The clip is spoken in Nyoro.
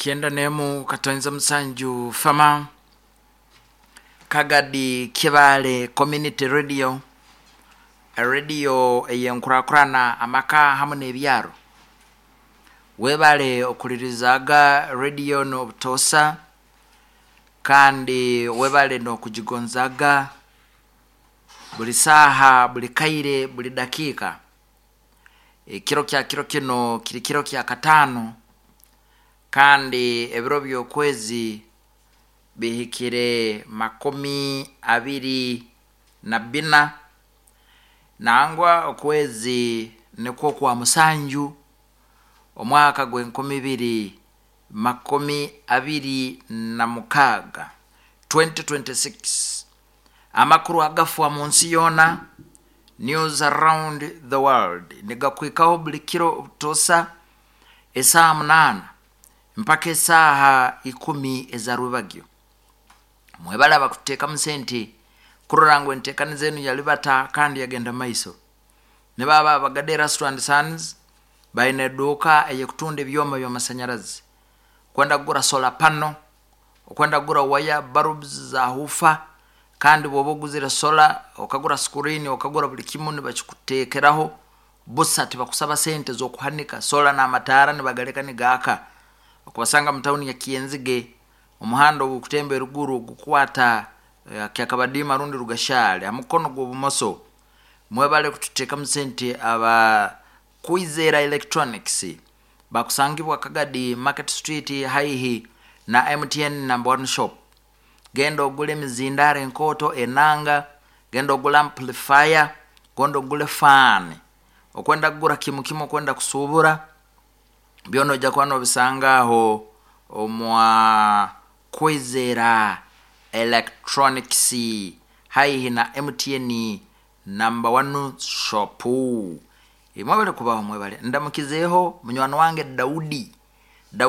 91.7 Fama Kagadi Kibale Community Radio, radio ey'enkurakurana amaka hamu n'ebyaro. Webale okulirizaaga radio n'obutoosa, kandi webale n'okugigonzaaga buli saaha, buli kaire, buli dakiika. Ekiro kya kiro kinu kiri kiro kya kataano, kandi ebiro by'okwezi bihikire 24, nangwa okwezi nikwo kwa 7, omwaka gw'e 2026, 2026. Amakuru agafwa mu nsi yoona, news around the world, nigakwikaho buli kiro obutoosa esaaha 8 mpaka esaaha 10 eza rwebagyo. Mwebale abakututeekamu sente kurora ngu enteekaniza enu yalibata kandi yagenda maiso. Nibo abo Abagade Erasto and Sons baine eduuka ey'ekutunda ebyoma by'amasanyarazi. Okwenda kugura solar panel, okwenda kugura waya bulbs za hufa, kandi bw'oba oguzire solar, okagura screen, okagura buli kimu nibakikuteekeraho busa, tibakusaba sente z'okuhanika solar n'amataara nibagaleka nigaaka. Okubasanga mu tawuni ya Kyenzige, omuhanda ogukutemba eruguru gukwata Kyakabadiima rundi Rugashale ha mukono gw'obumoso. Mwebale kututeekamu sente aba Kwizera Electronics, bakusangibwa Kagadi Market Street haihi na MTN number one shop. Genda ogule emizindaaro enkooto, enanga, genda ogule amplifier, genda ogule fan. Okwenda kugura kimu kimu, okwenda kusuubura, byona ojja kuba noobisanga aho omwa Kwizera Electronics haihi na MTN number one shop. Mwebale kubaho, mwebale. Ndamukizeeho munywani wange Daudi.